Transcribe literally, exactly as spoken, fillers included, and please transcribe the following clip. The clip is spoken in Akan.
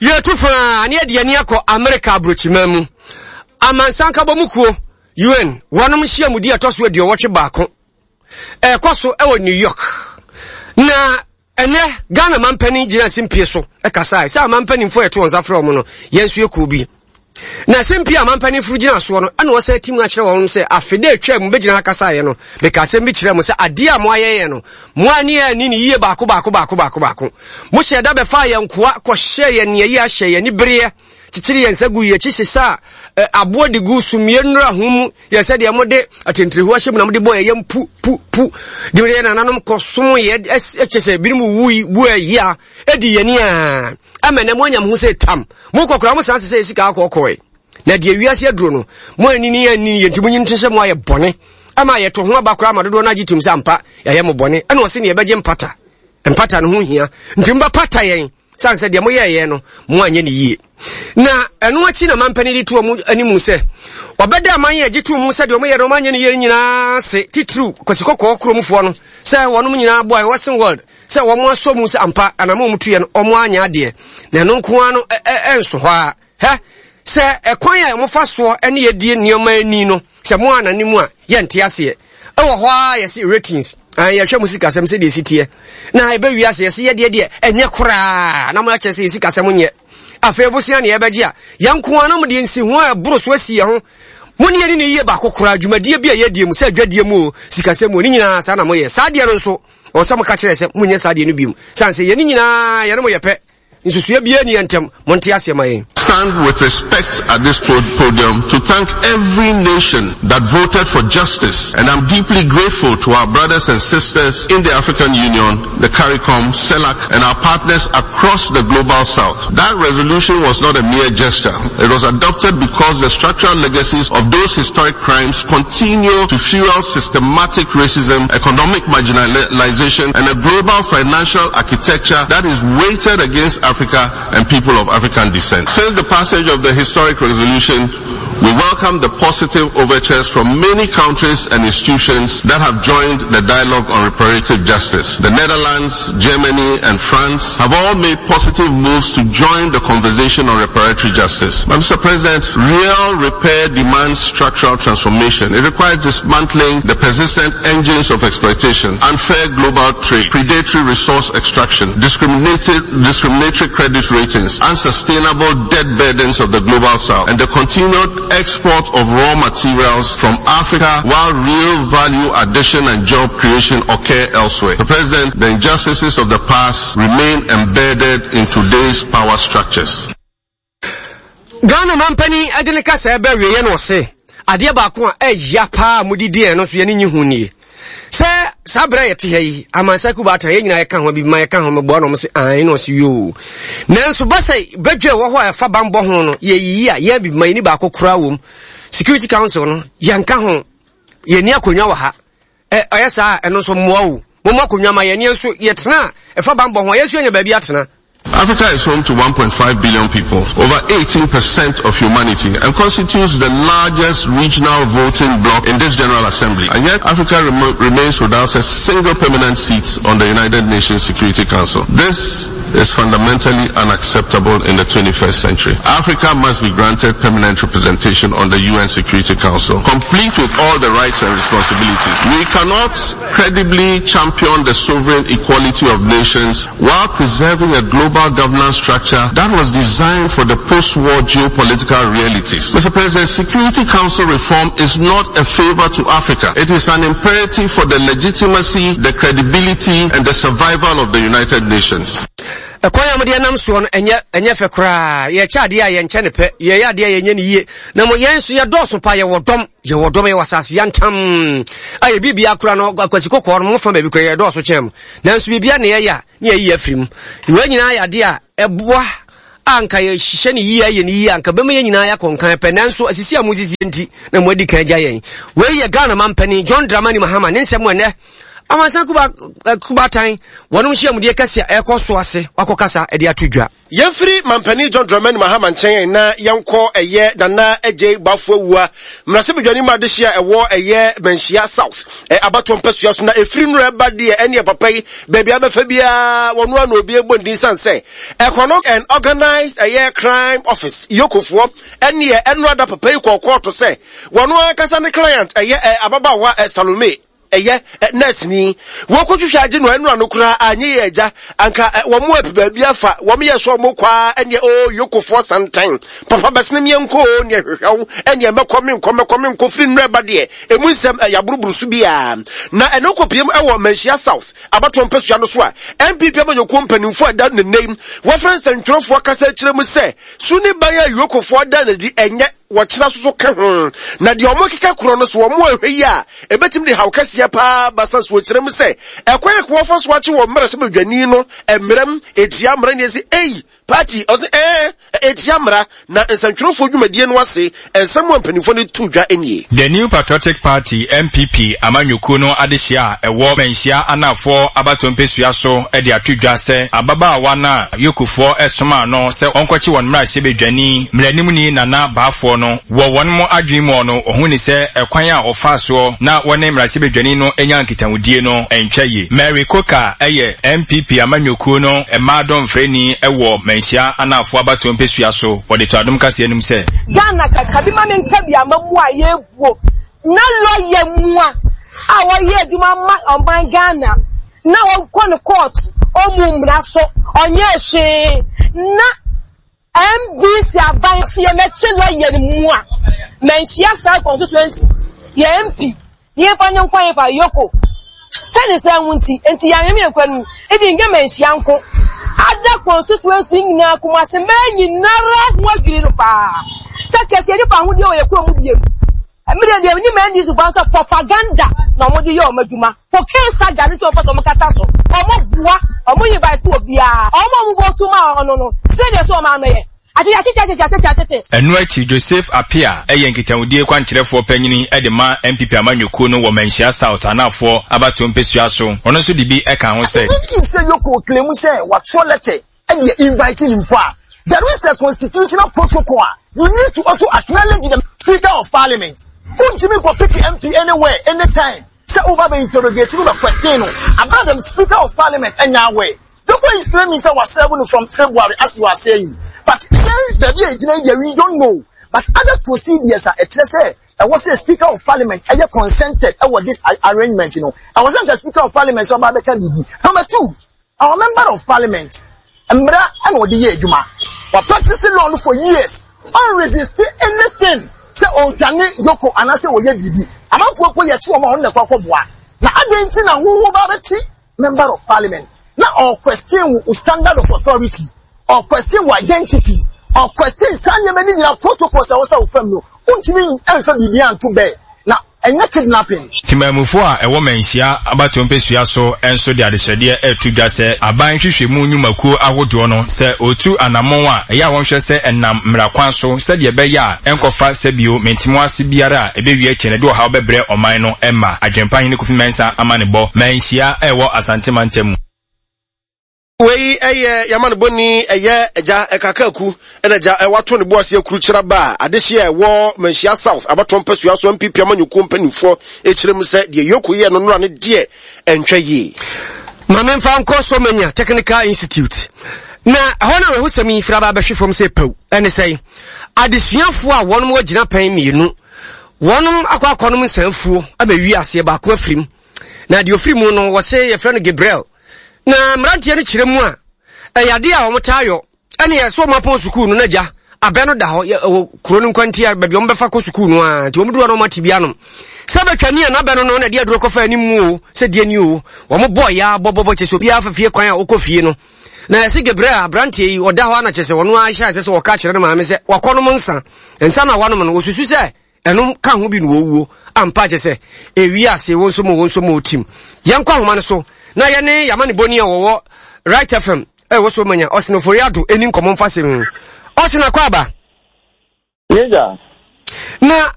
Yɛtu faa ne yɛde ani akɔ Amerika aburokyima mu. Amansan nkabɔmu kuo U N wɔnom nhyiamudi a ɛtɔ so aduɔwɔtwe baako ɛrekɔ so wɔ New York. Na ɛnɛ Ghana mampanin gyina simpie so ɛkasae sɛ amanpanimfoɔ yɛto wɔn nsa frɛ wɔn no, yɛn nso yɛ kuo bi. Na simpie a amanpanimfoɔ gyina soɔ no, ɛna wɔsan ti mu akyerɛ wɔn sɛ afei dɛ atwa mu bɛgyina ha kasaeɛ no, meka asɛm bi kyerɛ mo sɛ adeɛ a mo ayɛ yɛn no, mo ani ani ne yie baako baako baako baako baako. Mo hyɛ da bɛfa yɛn nkoa kɔhyɛ yɛn nea yi ahyɛ yɛn ni bereɛ kyekyere yɛn nsa gu yɛn akyi, hyehyɛ a aboɔ de gu sumie nnura ho mu yɛ sɛ deɛ mode atentiriho ahyɛ mu na mode bɔ yɛn yam pu pu pu de yɛn nananom kɔ som yɛ, ɛkyɛ sɛ ebinom wuyi wu ayi a ɛdi yɛn ni a ama na mo anya mo ho sɛ tam mo kɔkora mo san sɛ sɛ sika akɔkɔɛ. Na deɛ wiase aduro no, mo ani ni ani yɛn nti mo nyi nto sɛ mo ayɛ bɔne ama yɛto ho aba koraa ma dodoɔ no agye tum sɛ ampa yɛayɛ mo bɔne. Ɛna ɔse ne yɛbɛgye mpata, mpata no ho hia, nti mbɛpata yɛn sane sɛ deɛ moyɛɛyɛ no, mo anyɛ ne yie. Na ɛno akyi na mampani de to ɔmo anim sɛ ɔbɛda aman yɛ agye to mu sɛ deɛ ɔmoyɛ no, ɔmo anyɛ ne yie nyinaa se titiriw Kwasi Kɔkɔɔ kuromfoɔ no sɛ wɔnom nyinaa boa Western world sɛ wɔn asɔ mu sɛ ampa anam ɔmo tuyɛ no, ɔmo anyɛ adeɛ. Na ɛno nko ara no ɛnso hɔ a hɛ sɛ ɛkwan a wɔfa soɔ ne yɛdie nneɛma ani no sɛ mo anane mu a yɛnte aseɛ. Ɛwɔ hɔ a yɛse ratings, yɛhwɛ mo sikasɛm sɛdeɛ ɛsi teɛ na ɛbɛwie ase yɛse yɛdeɛ deɛ ɛnyɛ koraa na mo akyerɛ sɛ yɛ sikasɛm nyɛ. Afei bosea ne yɛbɛgye a yɛn nko ara na mo deɛ nsi ho a ɛboro so asi yɛn ho. Mo ne yɛne ne yie baako koraa dwumadie bi a yɛdie mu sɛ adwadie mu o, sikasɛm mu o, ne nyinaa saa na moyɛ. Saa deɛ no nso ɔwɔ sɛ moka kyerɛ sɛ monyɛ saa deɛ no biom, sane sɛ yɛne nyinaa yɛne mo yɛ pɛ, nsusua biara ni yɛn ntɛm. Monte aseɛ ma yɛn. Stand with respect at this podium to thank every nation that voted for justice, and I'm deeply grateful to our brothers and sisters in the African Union, the CARICOM, CELAC, and our partners across the Global South. That resolution was not a mere gesture. It was adopted because the structural legacies of those historic crimes continue to fuel systematic racism, economic marginalization, and a global financial architecture that is weighted against Africa and people of African descent. Since the passage of the historic resolution, we welcome the positive overtures from many countries and institutions that have joined the dialogue on reparative justice. The Netherlands, Germany, and France have all made positive moves to join the conversation on reparatory justice. But Mister President, real repair demands structural transformation. It requires dismantling the persistent engines of exploitation, unfair global trade, predatory resource extraction, discriminated, discriminatory credit ratings, unsustainable debt burdens of the Global South, and the continued export of raw materials from Africa while real value addition and job creation occur elsewhere. Mister President, the injustices of the past remain embedded in today's power structures. Ghana mampani ɛde ne kasa ɛbɛ wieɛ no, ɔse adeɛ baako a ɛya paa mudidi ɛno nso yɛne nyi ho nie sɛ saa berɛ a yɛte ha yi, amansa kuba atena yɛn nyinaa yɛka ho bi ma yɛka ho meboa no. Ɔmo se ae na ɔse yoo, nanso ba sɛ badwa ɛwɔ hɔ a ɛfa bambɔ ho no, yɛyiyi a yɛn bi ma yɛni baako koraa wɔ mu. Security Council no, yɛnka ho, yɛni akonnwa wɔ ha. ɛ ɔyɛ saa ɛno nso mmoa o. Mo akonnwa ma yɛn nso yɛtena a ɛfa bambɔ ho a, yɛnso yɛnya baabi atena. Africa is home to one point five billion people, over eighteen percent of humanity, and constitutes the largest regional voting bloc in this General Assembly. And yet, Africa rem- remains without a single permanent seat on the United Nations Security Council. This is fundamentally unacceptable in the twenty-first century. Africa must be granted permanent representation on the U N Security Council, complete with all the rights and responsibilities. We cannot credibly champion the sovereign equality of nations while preserving a global governance structure that was designed for the post-war geopolitical realities. Mister President, Security Council reform is not a favor to Africa. It is an imperative for the legitimacy, the credibility, and the survival of the United Nations. Ɛkwan a mode nam soɔ no, ɛnyɛ ɛnyɛ fɛ koraa. Yɛkyɛ adeɛ a yɛnkyɛ ne pɛ, yɛyɛ adeɛ a yɛnyɛ ne yie. Na mo yɛn nso yɛdɔɔso pa, yɛwɔ dɔm, yɛwɔ dɔm, yɛwɔ asase yantam a yɛ biribia kora no Akwasi Kɔkɔɔ no mofa baabi kora, yɛdɔɔso kyɛn mo, nanso biribia ne yɛyɛ a ne yɛyi afiri mu. Wei nyinaa yɛ adeɛ a ɛboa a nka yɛhyehyɛ ne yie, ayɛ ne yie a nka bɛma yɛn nyinaa yɛakɔ nkan pɛ, nanso asisi a mosisi nti na mo adi kan agya yɛn. Wei yɛ Ghana mampanin John Dramani Mahama ne nsɛm ɛnɛ Amansan kuba kubatan wɔnom nhyiamudie kɛse a ɛkɔ so ase wakɔkasa de ato dwa. Yɛmfiri Mampanin John Dramani Mahama nkyɛn na yɛnkɔ ɛyɛ Nana Adjei Bafo Awua mmarahyɛbadwani mu adehye a ɛwɔ ɛyɛ Manhyia South abatoɔ mpasua so na ɛfiri nnora ɛba deɛ ɛneɛ papa yi baabi abɛfa biara wɔno ano obi ɛbɔ ndin sane sɛ Economic and Organized ɛyɛ Crime Office yokofoɔ ɛneɛ ɛno ada papa yi kɔɔ kɔɔto sɛ wɔno ankasa ne client ɛyɛ ababaawa Salome ɛyɛ nurse-ni wɔkɔtwitwa agye no ɛno ano koraa anyɛ yɛ agya anka wɔn mo api baabi afa wɔn yɛ so wɔn kɔ a ɛneɛ o yokofoɔ santan papa bɛsene miɛ nkɔ o neɛ hwehwɛw ɛneɛ mɛkɔ me nkɔ mɛkɔ me nkɔ firi nnura ba deɛ emu nsɛm ɛyɛ aburuburu so biara na ɛno kɔpiem ɛwɔ Manhyia South abatoɔ mpasua no so a N P P amanyɔkuo mpanimfoɔ a ɛda ne nne wɔfrɛ nsɛntwerɛfoɔ kasa akyerɛ mu sɛ su ne ban a yokofoɔ da n'adi ɛnyɛ wɔkyerɛ so so ka ho na deɛ ɔmo keka korɔ no so wɔn ahwɛ yi a ebetumi de haw kɛseɛ paa basa so wɔkyerɛ mu sɛ ɛkwan a wɔfa so akye wɔ mmerɛ sɛ badwani no mmerɛm etia mmerɛ ne esi ei party ɔsɛ ɛɛ etia mmara na nsɛntwerɛfoɔ dwumadie no ase nsɛm a mpanimfoɔ no to dwa nie. The New Patriotic Party N P P amanyɔkuo no adehyia a ɛwɔ Manhyia anafoɔ abatoɔ mpasua so de ato dwa sɛ ababaawa no a yokofoɔ ɛsoma no sɛ ɔnkɔkye wɔn mmarahyɛbadwani mmaranimni Nana Baafoɔ no wɔ wɔn mo adwene mu no ɔhu ne sɛ ɛkwan a ɔfa soɔ na wɔne mmarahyɛbadwani no anya nkitahodie no ɛntwa yie. Mary Koka ɛyɛ N P P amanyɔkuo no mmaa dɔmfrɛni ɛwɔ Manhyia anafoɔ abatoɔ mpasua so wɔde to adom kaseɛ nim sɛ Ghana kakabi ma menka bi ama mu a yɛbuo na lɔyɛ mu a a wɔyɛ adwuma ma ɔman Ghana na wɔkɔ no court ɔmu mmara so ɔnyɛ hwee na M D C aban si yɛmɛkye lɔyɛ no mu a Manhyia South constituency yɛ M P yɛmfa ne nkwan yɛfa yoko sɛne sɛ wo nti nti yɛanwem yɛn kwan mu ebi nyɛ Manhyia nko ada constituency nyinaa Kumase mmaa nyinara ho adwiri no paa sɛ kyerɛ sɛ yɛde fa ahodeɛ wɔ yɛ kurom mu biem mmiri deɛ ni mmaa ndi so fa sɛ propaganda na wɔn de yɛ wɔn adwuma cocaine saga ne tí wɔn pɛ sɛ wɔn kata so wɔn boa wɔn invite obiara wɔn a wɔn bɔ tuma ɔno no sɛdeɛ sɛ wɔn ano yɛ. Ɛno akyi Joseph Appiah ɛyɛ nkitahodie kwankyerɛfoɔ panyini ɛde ma N P P amanyɔkuo no wɔ Manhyia South anafoɔ abatoɔ mpasua so ɔno nso de bi ɛka ho sɛ Even if sɛ yoko claim sɛ watwerɛ letter ɛde invite him mpo a there is a constitutional protocol a you need to also acknowledge the Speaker of Parliament. Wontumi nkɔ pick M P anywhere anytime sɛ woba bɛ interrogate no bɛ question no about the Speaker of Parliament ɛnya aware. Yoko is claiming sɛ wasɛbo no from February as you are saying. But then we don't know. But other procedures are say I was a Speaker of Parliament, I consented I this arrangement, you know. I wasn't the Speaker of Parliament, so I'm Number two, our member of Parliament, Emra and Odiye Juma, were practicing law for years, unresisting anything. Say oh Jani Yoko and I say oh yeah Bibi. I'm not for you on the Kwakwa. Now I didn't know who member of Parliament. Now or question standard of authority, or question identity, or question sanya many protocols I was from no. Untimi enfa bibi anto be. Na enye kidnapping. Timamufo a ɛwɔ Manhyia abatoɔ mpasua so enso de adehyɛdeɛ ɛto dwa sɛ aban hwehwɛmu nnwumakuo ahodoɔ no sɛ otu anammɔn a ɛyɛ a wɔnhwɛ sɛ ɛnam mmerakwan so sɛdeɛ ɛbɛyɛ a ɛnkɔfa sɛbio mentemo ase biara a ɛbɛwie akyi no de ɔhaw bɛbrɛ ɔman no ɛma adwempa hene Kofi Mensah ama ne bɔ Manhyia ɛwɔ Asante mantam. Wei ɛyɛ yamanebɔni ɛyɛ agya ɛkakaku ɛna agya ɛwato ne boase akuru kyerɛ ba a adehye a ɛwɔ Manhyia South abatoɔ mpasua so M P P amanyɔkuo mpanimfoɔ ɛkyerɛ mu sɛ deɛ yoko yɛ no nora ne deɛ ɛntwa yie. Maame mfa nkɔ Somanya Technical Institute na ɛhɔ na awerɛhosɛm yi firi aba abɛhwe fam sɛ pɛw ɛne sɛ adesuafoɔ a wɔnom agyina pɛn mmienu wɔnom akɔ akɔnom nsanfuo abɛwi aseɛ baako afirim na deɛ ofiri mu no wɔse yɛfrɛ no Gabriel na mmeranteɛ no kyerɛ mu a ɛyɛ adeɛ a wɔn taa yɔ ɛne yɛ so wɔn apɔn sukuu no n'agya abɛ no da hɔ yɛ ɛwɔ kuro no nkwantia baabi wɔn bɛfa kɔ sukuu no a nti wɔn duro no wɔn ate bi anom sɛ bɛtwa ni a n'abɛ no no na ɛde aduro kɔfa anim mu o sɛ deɛ ni o wɔn bɔ ya bɔbɔbɔ kyɛ sɛ obiara fa fie kwan a ɔkɔ fie no na yɛsi Gabriel aberanteɛ yi ɔda hɔ ana kyɛ sɛ ɔno ahyɛ asɛ sɛ ɔka kyerɛ ne maame sɛ wakɔnom nsa nsa na wanom no wɔsusu sɛ ɛnom ka ho bi no wɔwuo ampa kyɛ sɛ ewi ase wɔn nso mu wɔn nso mu tim yɛnkɔ ahoma no so na yɛne yamanebɔni a wɔwɔ Right F M ɛwɔ so manya Ɔsene Ofori-Addo ɛni nkɔmmɔ mfa sɛm. Ɔsene akɔ aba. Yɛgya. Na